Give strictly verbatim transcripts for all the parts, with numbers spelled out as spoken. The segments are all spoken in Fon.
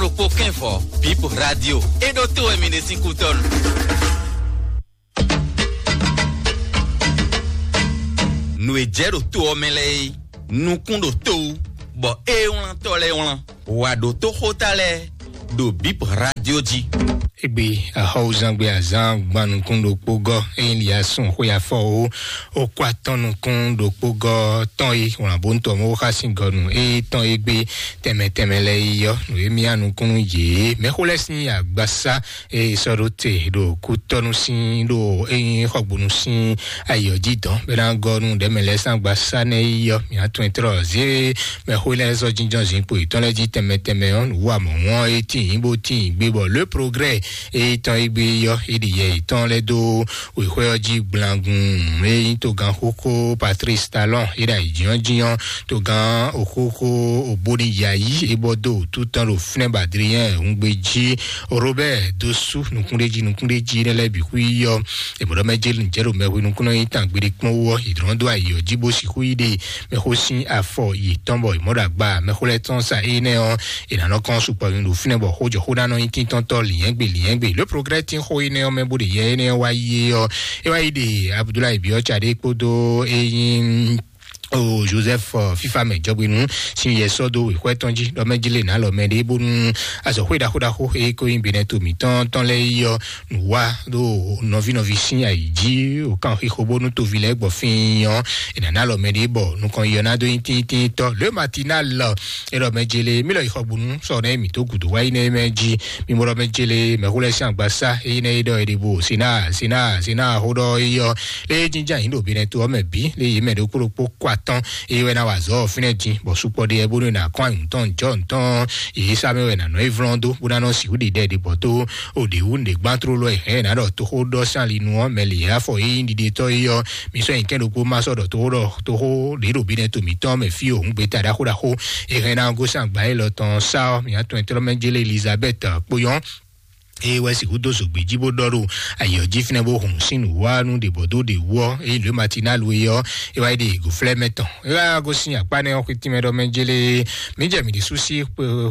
Ɖokpó kɛnvɔ, Bip Radio. E ɖo to wɛ mi ɖe sín kútɔnu. Nǔ e jɛ ɖo to ɔ́ mɛ lɛ́ɛ é, nukún ɖo to wú, bɔ ée wlántɔ́ lɛ́ɛ wlán. Wǎ ɖo toxóta lɛ́ɛ ɖo Bip Radio jí. Égbé axɔ́wúzán gbé azán gban nukún ɖokpó gɔ́, ényí li asún xwé afɔ ó, ó kó atɔ́n nukún ɖokpó gɔ́ tɔn e wlǎn bó ntɔ́ mɔ xá sín gɔnu e tɔn e gbé tɛmɛ tɛmɛ lɛ́ɛ yi yɔ. Nǔ e mì nukúnnú yě mɛxó lɛ́ɛ sín agbasá e sɔ́ ɖó te ɖo kútɔ́nú sín ɖo ényí xɔgbónú sín ayǐ ɔ́ jí dɔn bɛ ná gɔ́ nú ɖɛ̌mɛ lɛ́ɛ sín agbasá nɛ́ yi yɔ. Mì atún ɛtrɔ zé mɛxó lɛ́ɛ sɔ́ jínjɔ́n zinkpo yětɔn lɛ́ɛ jí tɛmɛ tɛmɛ ɔ́, nǔ wa mɔ̌ wɔn e tíin bó tíin gbé bɔ le progrès e tɔn e gbé yɔ e ɖi yɛ yětɔn lɛ́ɛ dó wěxwé ɔ́ jí gblangun. E nyí togán xóxó Patrice Talon e ɖo ayǐjínjɔ́n togán òxóxó òbóni yayi e bɔ dó wǔtu tɔn ɖo fínɛ́ bɔ Adrien Hungbe jí, Robert Dosu nukúnɖéjí nukúnɖéjí nɛ́ lɛ́ɛ bǐ xwí yɔ. È mɔ̌ ɖɔ mɛ jɛ jɛ ɖo mɛhwe nukúnnɔ nyi tán gbeɖé kpɔ́n wú ɔ́, è dlɔ́n dó ayǐ ɔ́ jí bó sixú yi ɖe mɛxó sín afɔ yětɔn bɔ è mɔ̌ ɖo agba mɛxó lɛ́ɛ tɔn sa énɛ́ ɔ́, è nǎ nɔ kɔn sukpɔ nyi ɖo fínɛ́ bɔ xójɔxó ná nɔ nyí tíntɔ́ntɔ́ lǐnyɛ́gbe lǐnyɛ́gbe. Lě progrès tín xó énɛ́ ɔ́ mɛ bó ɖe yɛ énɛ́ ɔ́ wá yi é ɔ́, é wá yi ɖe Abudulayi Biɔ́ca ɖé kpódó é nyí o Joseph, ɔ, fífa mɛ jɔgbénu sín yɛ sɔ́ dó wěxwɛ́ tɔn jí ɖɔ mɛ jí lè nǎ lɔ mɛ ɖé bónú azɔ̌xwé ɖaxó ɖaxó e ko nyí Benɛto mǐtɔn tɔn lɛ́ɛ yi ɔ́, nǔ wa ɖo nɔví nɔví sín ayǐ jí, wǒ kan xixo bónú toví lɛ́ɛ gbɔ fín ɔ́, è nǎ ná lɔ mɛ ɖé bɔ nukɔn yi ɔ́ ná dó nyí tíntínntɔ́. Le matinal, é ɖɔ mɛ jele mí lɔ yi xɔgbónú sɔ nɛ mǐ dó gǔdo wá yi nɛ mɛ jí. Mi mɔ ɖɔ mɛ jele mɛxó lɛ́ɛ sín agbasá é yi nɛ é ɖɔ é ɖe bo sina sina sina xó ɖɔ é yɔ. Lé jínján yǐ ɖo Benɛto ɔ́ mɛ bǐ, lé yě mɛ ɖokpó ɖokpó kó atɔ́n, eye wɛ ná wa azɔ̌ ɔ́ fínɛ́ din, bɔ sukpɔ ɖe yɛ bónú è nǎ kɔn ayǐ tɔn jɔ̌ tɔn, yě sá mɛ wɛ nǎ nɔ é vlɔ́n dó, bó ná nɔ sixú ɖi ɖɛ ɖě bɔ tó o ɖě wú nǔɖé gbán tlóló ɛ hɛn ná ɖɔ toxó ɖɔ sín ali nu ɔ́, mɛ lě afɔ é nyí ɖiɖetɔ́ é ɔ́, mi sɔ́ nyi kɛ́n ɖokpó má sɔ́ ɖɔ toxó ɖɔ toxó ɖě ɖo Benɛto mǐtɔn mɛ fí o, hǔn gbeta ɖaxó ɖaxó, é hɛn ná gosín agba élɔ́ tɔn sá ɔ́, mǐ atɔn ɛtɔ́ mɛ jélé Elizabɛ́t kpó nyɔ́. Eye wɛ sixú dó zogbe jí bó ɖɔ ɖo ayǐ ɔ́ jí fínɛ́ bó hun sín nǔwanú ɖě bɔ dó ɖě wú ɔ́, eye lǒ Matinál e ɔ́, é wá yi ɖe gǒflɛ́ mɛ tɔn. É wá gosín akpá nɛ́ ɔ́ xwetínmɛ ɖɔ mɛ jélé, mǐ jɛ mǐ ɖésú sí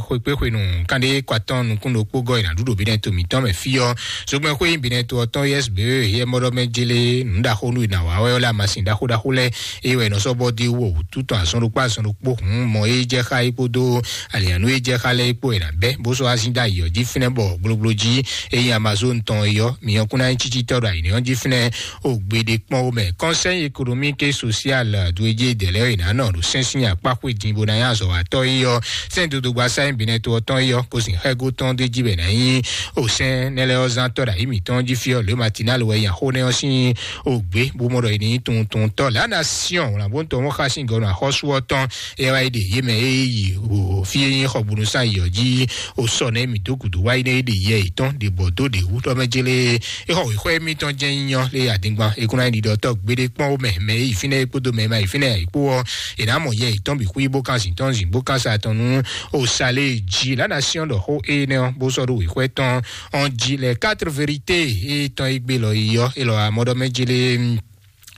xwekpéxwenu kanɖé kɔ atɔn nukún ɖokpó gɔ́ yi nǎ ɖu ɖo Benɛto mǐtɔn mɛ fí ɔ́. Zogbɛ́n xwé nyí Benɛto ɔ́ tɔn yɛ́s bě he ɔ́ mɔ ɖɔ mɛ jélé nǔ ɖaxó nú è nǎ wa wɛ ɔ́ lɛ́ amasin ɖaxó ɖaxó lɛ́ɛ, eye wɛ è nɔ sɔ́ bɔ dó wú wǔtu tɔn azɔn ɖokpó azɔn ɖokpó hun mɔ e jɛ xá é kpódó alǐanú e jɛ xá lɛ́ɛ é kpó è nǎ bɛ́, bó sɔ́ azín dó ayǐ ɔ́ jí fínɛ́ bɔ gblogbló jí e nyí Amazon tɔn é ɔ́, mi ɔ́ kún ná nyí cícítɔ́ ɖo ayǐ ɔ́ jí fínɛ́ o gbeɖé kpɔ́n ó mɛ. Conseil économique et social dwe jí dɛ̌ lɛ́ɛ è nǎ nɔ ɖo sɛ́n sín akpá xwé din bó ná nyí azɔ̌watɔ́ é ɔ́, sɛ́n dodogba sáyɛn Benɛto ɔ́ tɔn é ɔ́, kó sin xɛ́gó tɔn d'é jí bɛ ná nyí o sɛ́n nɛ́ lɛ́ɛ ɔ́ zán tɔ́ ɖo ayǐ mǐtɔn jí fí ɔ́, lě Matinál wɛ nya xó nɛ́ ɔ́ sín o gbě bó mɔ ɖɔ è ní tunwun tunwun tɔ́ lǎ ná Siɔn wlǎnbóntɔ́ mɔ xá sín gɔ́ nɔ axɔ́sú ɔ́ tɔn. É wá yi ɖe yě mɛ e yi o fí e nyí xɔgbónúsán yi ɔ́ jí o sɔ nɛ mì dó gǔdo wá yi nɛ é ɖe yɛ yětɔn ɖe bɔ dó ɖe wú ɖɔ mɛ jélé é xɔ wěxɔ émítɔn jẹ́ nyínyɔ́ lé adingban é kún ná yi ɖiɖɔ tɔ́ gbeɖé kpɔ́n ó mɛ mɛ e yi fínɛ́ é kpódó mɛ e ma yi fínɛ́ é kpó ɔ́, è nǎ mɔ yɛ yětɔn bǐ xwí bó kan zǐntɔ́n zǐn bó kan sa tɔn nú o sa lé jí lǎ ná Siɔn ɖɔ xó énɛ́ ɔ́ bó sɔ́ ɖó wěxɔ tɔn ɔ́n jí lɛ quatre vérité é tɔn é gbé lɔ yi ɔ́ é lɔ amɔ́ ɖɔ mɛ jélé.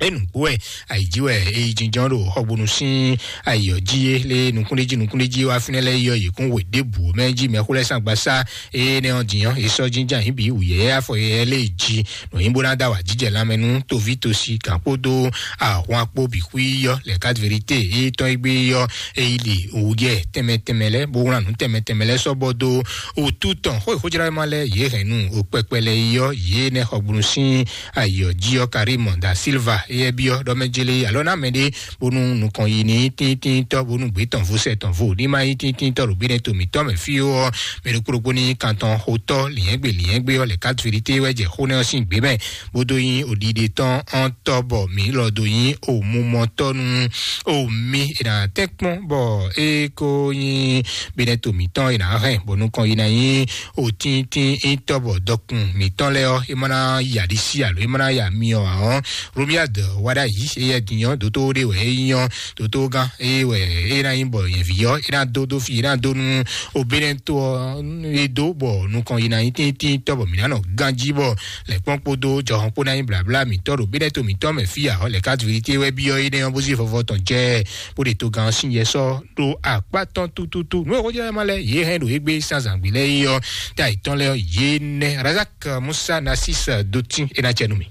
Enugbo wɛ ayi jí wɛ eyi jínjɔ́n ɖo xɔgbónú sín ayǐ ɔ́ jí é lé nukúnɖéjí nukúnɖéjí wá fínɛ́ lɛ́ɛ yɔ yě kún we ɖěbǔ mɛ jí mɛxó lɛ́ɛ sín agbasá énɛ́ ɔ́ din ɔ́, è sɔ́ jínjɔ́n ayǐ bǐ wǔyɛ́yɛ́ afɔ yɛ́yɛ́ lé jí nɔ̌ nyí bó ná dó awǎjijɛ lanmɛ nú toví tosi gǎn kpódó ahwan kpó bǐ xwí yɔ lɛ quatre vérité é tɔn é gbé yɔ eyi li wǔyɛ tɛnmɛ tɛnmɛ lɛ́ɛ bó wlán nǔ tɛnmɛ tɛnmɛ lɛ́ɛ sɔ́ bɔ dó wǔtu tɔn xó e xójlá ma lɛ́ɛ yě hɛn nú o kpɛkpɛ lɛ́ɛ yɔ yě nɛ́ xɔgbónú sín ayɔ jí ɔ́ Karim da Silva éyɛ́ byɔ́ ɖɔ mɛ jélé alɔ ná mɛ ɖé bónú nukɔn yi ní tíntíntɔ́ bónú gbé tɔn vo sɛ tɔn vo ní má nyí tíntíntɔ́ ɖo gbénɛ́ to mǐtɔn mɛ fí ó ɔ́, mɛ ɖokpó ɖokpó ní kan tɔn xotɔ́ lǐnyɛ́gbé lǐnyɛ́gbé ɔ́ lɛ quatre vérité wɛ jɛ xó nɛ́ ɔ́ sín gbě mɛ bó dó nyí oɖiɖe tɔn ɔ́n tɔ́ bɔ mǐ lɔ dó nyí omumɔtɔ́ nú omi è nǎ tɛ́nkpɔ́n bɔ é kó nyí gbénɛ́ to mǐtɔn è nǎ hɛn bɔ nukɔn yi ná nyí òtíntín ítɔ́ bɔ dɔkun mǐtɔn lɛ́ɛ ɔ́ é má ná ya ɖisí alo é má ná ya myɔ ǎ ɔ́, Romia Wá ɖ'ayǐ, éyɛ́ din ɔ́, dótó ɖé wɛ é nyí ɔ́, dótógán é wɛ é ná nyí bɔ nyɛ̌ví ɔ́ é ná dó dó fí, é ná dó nú obénɛ́ tó ɔ́ é dó bɔ nukɔn yi ná nyí tíntín tɔ́ bɔ mǐ ná nɔ ganjí bɔ lɛ̌kpɔ́n kpódó jɔhɔn kpó ná nyí blǎblá mǐtɔn ɖo bénɛ́ to mǐtɔn mɛ fí ǎ. Lɛ̌ ká vǐ té wɛ byɔ́ énɛ́ ɔ́ bó zé vɔvɔ tɔn jɛ bó ɖe togán sín yɛ sɔ́ ɖó akpá tɔn tututu. Nǔ e xó jɛ ma lɛ yě hɛn ɖo égbé sín azǎngbé lɛ́ɛ é ɔ́, tá yětɔn lɛ́ɛ ɔ́, yě nɛ́ Razak Musa Nasis Dotin é ná cɛ nú mì.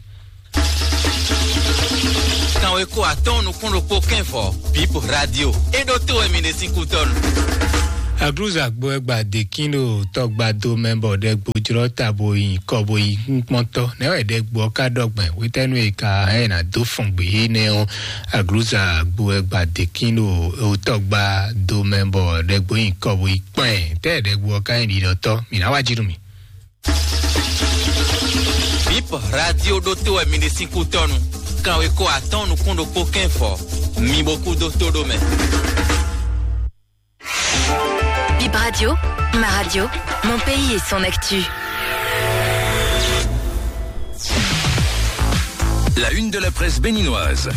Kanweko atɔ́ɔ́n nukún ɖokpó kɛ́nvɔ, Bip Radio. É ɖó tó wɛ mi ɖe sín kútɔ́nu. Aglúza gbo ẹgbà dèkín ɖo tɔgbado mɛ bɔ ɖɛgbo jlɔ́ ta bo yi kɔ bo yi kúnkpɔ́ntɔ́. Nɛ̌ wɛ ɖɛgbo ɔ́ ka ɖɔ gbɛn? Hwetɛ́nu e ka hɛn ná dó fɔn gbě énɛ́ ɔ́, aglúza gbo ẹgbà dèkín ɖo tɔgbado mɛ bɔ ɖɛgbo yi kɔ bo yi kpɛn. Tɛ́ ɖɛgbo ɔ́ ka nyí ɖiɖɔtɔ́? Mǐ ná wá jí nú mì. Bip Radio ɖó tó wɛ mi ɖe sín kútɔ́nu. Kanweko atɔ́ɔ́n nukún ɖokpó kɛ́nvɔ, mi bo kú dó tó ɖó mɛ. Bip Radio, ma radio, mon pays et son actu. La une de la presse béninoise.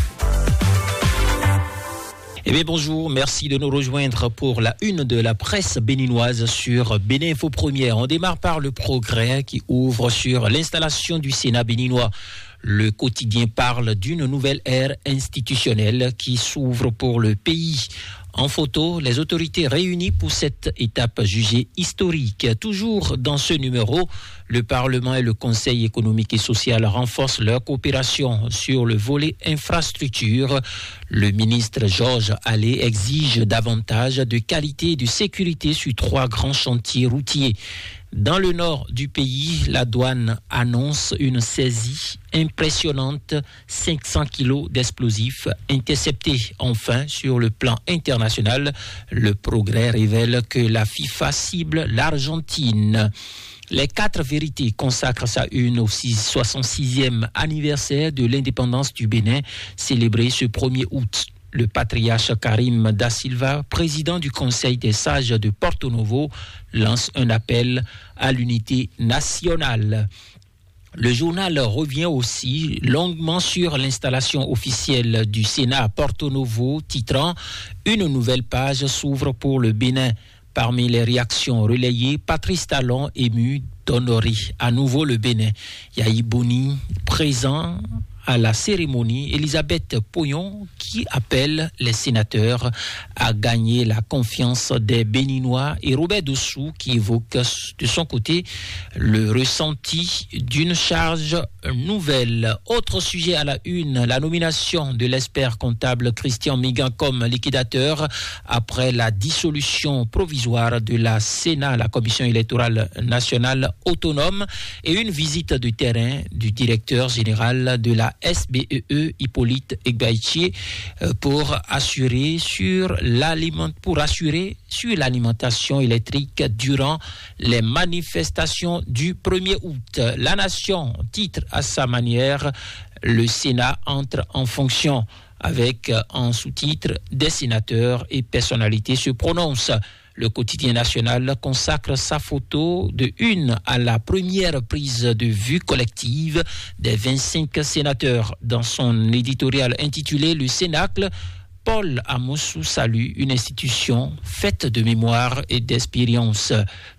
Eh bien, bonjour, merci de nous rejoindre pour la une de la presse béninoise sur Bénin Info Première. On démarre par Le Progrès qui ouvre sur l'installation du Sénat béninois. Le quotidien parle d'une nouvelle ère institutionnelle qui s'ouvre pour le pays. En photo, les autorités réunies pour cette étape jugée historique. Toujours dans ce numéro, le Parlement et le Conseil économique et social renforcent leur coopération sur le volet infrastructure. Le ministre Georges Allais exige davantage de qualité et de sécurité sur trois grands chantiers routiers. Dans le nord du pays, la douane annonce une saisie impressionnante, cinq cents kilos d'explosifs interceptés. Enfin, sur le plan international, Le Progrès révèle que la FIFA cible l'Argentine. Les quatre vérités consacrent sa une au six- soixante-sixième anniversaire de l'indépendance du Bénin, célébré ce premier août. Le patriarche Karim Da Silva, président du Conseil des sages de Porto Novo, lance un appel à l'unité nationale. Le journal revient aussi longuement sur l'installation officielle du Sénat à Porto Novo, titrant: Une nouvelle page s'ouvre pour le Bénin. Parmi les réactions relayées, Patrice Talon, ému, d'honorer à nouveau le Bénin. Yayi Boni, présent à la cérémonie, Elisabeth Poyon, qui appelle les sénateurs à gagner la confiance des Béninois, et Robert Dossou, qui évoque de son côté le ressenti d'une charge nouvelle. Autre sujet à la une, la nomination de l'expert comptable Christian Migan comme liquidateur après la dissolution provisoire de la Sénat, la Commission électorale nationale autonome, et une visite de terrain du directeur général de la S B E E, Hippolyte Egbaïtier, euh, pour assurer sur l'aliment-, pour assurer sur l'alimentation électrique durant les manifestations du premier août. La Nation titre à sa manière: Le Sénat entre en fonction, avec, euh, en sous-titre: Des sénateurs et personnalités se prononcent. Le quotidien national consacre sa photo de une à la première prise de vue collective des vingt-cinq sénateurs. Dans son éditorial intitulé Le Cénacle, Paul Amoussou salue une institution faite de mémoire et d'expérience,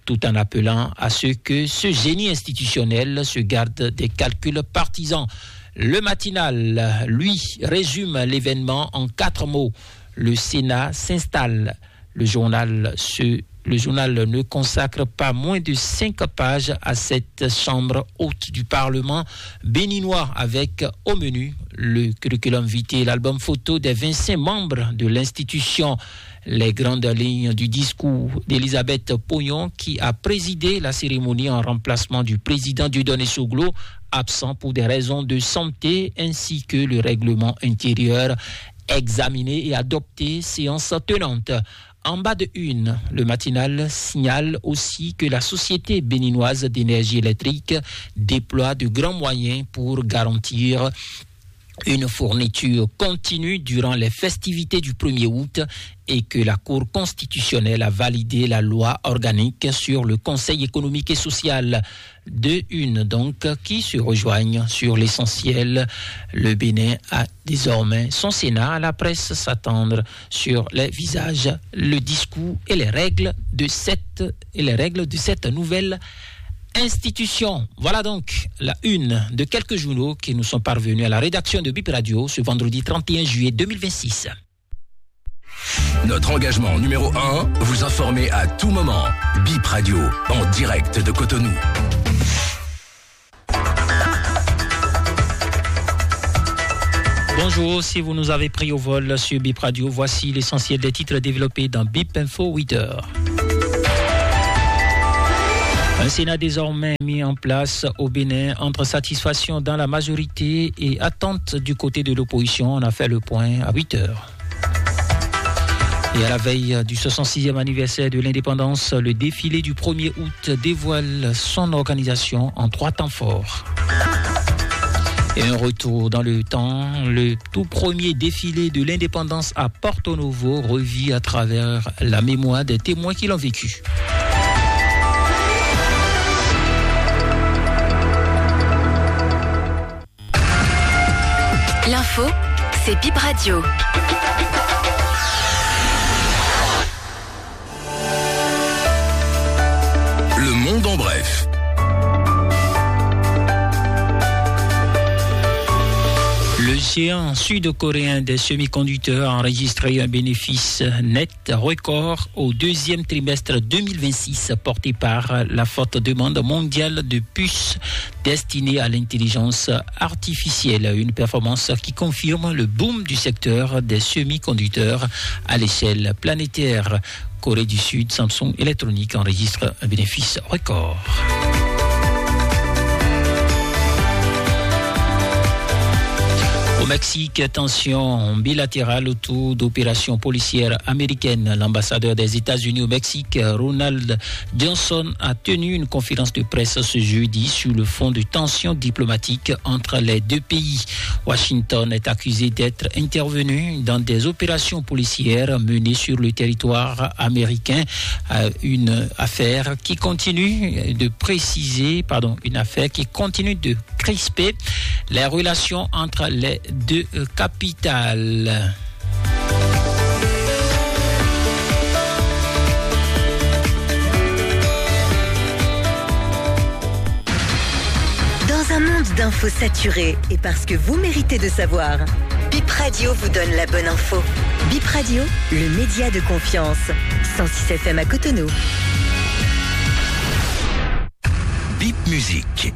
tout en appelant à ce que ce génie institutionnel se garde des calculs partisans. Le Matinal, lui, résume l'événement en quatre mots. Le Sénat s'installe. Le journal se, le journal ne consacre pas moins de cinq pages à cette chambre haute du Parlement béninois, avec au menu le curriculum vitae, l'album photo des vingt-cinq membres de l'institution, les grandes lignes du discours d'Elisabeth Poyon, qui a présidé la cérémonie en remplacement du président Dieudonné Soglo, absent pour des raisons de santé, ainsi que le règlement intérieur, examiné et adopté, séance tenante. En bas de une, le Matinal signale aussi que la Société béninoise d'énergie électrique déploie de grands moyens pour garantir une fourniture continue durant les festivités du premier août et que la Cour constitutionnelle a validé la loi organique sur le Conseil économique et social. Deux unes donc qui se rejoignent sur l'essentiel. Le Bénin a désormais son Sénat. La presse s'attendre sur les visages, le discours et les règles de cette, et les règles de cette nouvelle institution. Voilà donc la une de quelques journaux qui nous sont parvenus à la rédaction de Bip Radio ce vendredi trente et un juillet deux mille vingt-six. Notre engagement numéro un, vous informer à tout moment. Bip Radio, en direct de Cotonou. Bonjour, si vous nous avez pris au vol sur Bip Radio, voici l'essentiel des titres développés dans Bip Info huit heures. Un Sénat désormais mis en place au Bénin entre satisfaction dans la majorité et attente du côté de l'opposition. On a fait le point à huit heures. Et à la veille du soixante-sixième anniversaire de l'indépendance, le défilé du premier août dévoile son organisation en trois temps forts. Et un retour dans le temps, le tout premier défilé de l'indépendance à Porto Novo revit à travers la mémoire des témoins qui l'ont vécu. L'info, c'est Bip Radio. Le monde en bref. Le géant sud-coréen des semi-conducteurs a enregistré un bénéfice net record au deuxième trimestre deux mille vingt-six, porté par la forte demande mondiale de puces destinées à l'intelligence artificielle, une performance qui confirme le boom du secteur des semi-conducteurs à l'échelle planétaire. Corée du Sud, Samsung Electronics enregistre un bénéfice record. Au Mexique, tension bilatérale autour d'opérations policières américaines. L'ambassadeur des États-Unis au Mexique, Ronald Johnson, a tenu une conférence de presse ce jeudi sur le fond de tensions diplomatiques entre les deux pays. Washington est accusé d'être intervenu dans des opérations policières menées sur le territoire américain, euh, une affaire qui continue de préciser, pardon, une affaire qui continue de crisper les relations entre les deux, euh, capitales. Dans un monde d'infos saturées et parce que vous méritez de savoir, Bip Radio vous donne la bonne info. Bip Radio, le média de confiance. Cent six F M à Cotonou. Bip Musique.